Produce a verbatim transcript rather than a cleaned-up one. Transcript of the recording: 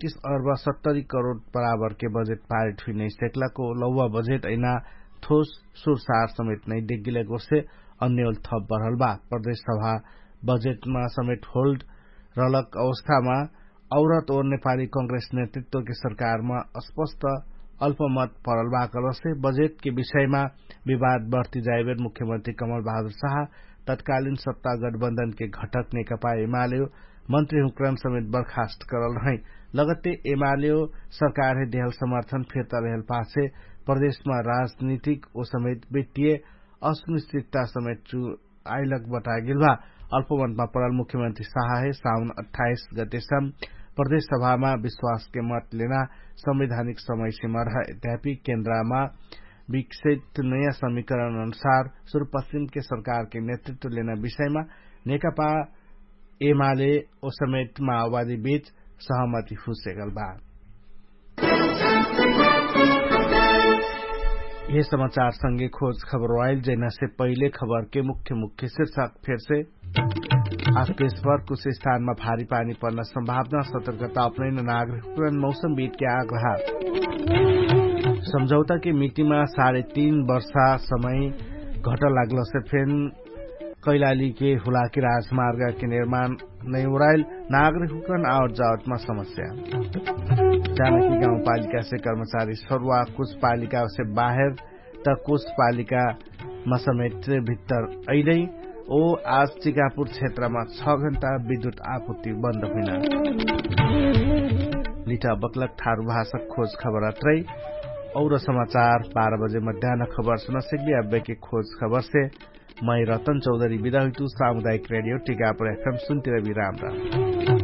तीस अर्ब सत्तरी करोड बराबरके बजेट पारिट हुइनै सेक्लाको लौवा बजेट अइना थोस सुरसार समेत नै डेगिलेक ओर्से अन्योल थप बढल बा। प्रदेश सभा बजेटमा समेत होल्ड रहलक अवस्थामा औरत ओर नेपाली कंग्रेस नेतृत्वके सरकारमा स्पष्ट अल्पमत परल बा कहलसे बजेटके विषयमा विवाद बढ्ती जाइबेर मुख्यमन्त्री कमल बहादुर साहा तत्कालिन सत्ता गठबन्धनके घटक नेकपा एमालेयो मन्त्री हुँक्रान समेत बर्खास्त करल रहै। लगत्ते एमालेयो सरकारहे देहल समर्थन फिर्ता लेहल पाछे प्रदेशमा राजनीतिक ओ समेत वित्तीय असुनिश्चितता समेत चु आइलक बतागेल भा। अल्पमतमा परल मुख्यमन्त्री साहाहे साउन अठाइस गतेसम प्रदेश सभामा विश्वासके मत लेना संवैधानिक समयसीमा रह अध्यापी केन्द्रमा विकसित नयाँ समीकरण अनुसार सुरुपश्चिमके सरकारके नेतृत्व लेना विषयमा नेकपा एमाले ओ समेत माओवादी बीच सहमति हुसेगल बा। यह समाचार संगे खोज खबर वाइल जैना से पहिले खबर के मुख्य मुख्य शिर्षक फेरसे। आज देशभर कुछ स्थानमा भारी पानी पर्न सम्भावना सतर्कता अपनैन नागरिकन मौसम बीत के आग्रह। सम्झौता के मितिमा साढे तीन वर्षा समय घट लाग्लसे फेन कैलालीके हुलाकी राजमार्गके निर्माण नै उराइल नागरिकहुकन आवत जावतमा समस्या। जानकी गाउँपालिकासे कर्मचारी सरुवा कुछ पालिकासे बाहेर त कुछ पालिकामा समेत भित्तर अइलै। ओ आज चिकापुर क्षेत्रमा छ घण्टा विद्युत आपुर्ति बन्द हुइना। लिठा बक्लक ठारु भाषक खोज खबर अत्रै। और समाचार बाह्र बजे मध्यान खबर सुनसक्बी अब्बेके खोज खबरसे मै रतन चौधरी बिदा हुइतु सामुदायिक रेडियो टिकापुर एफएम सुन्तिरबी राम राम।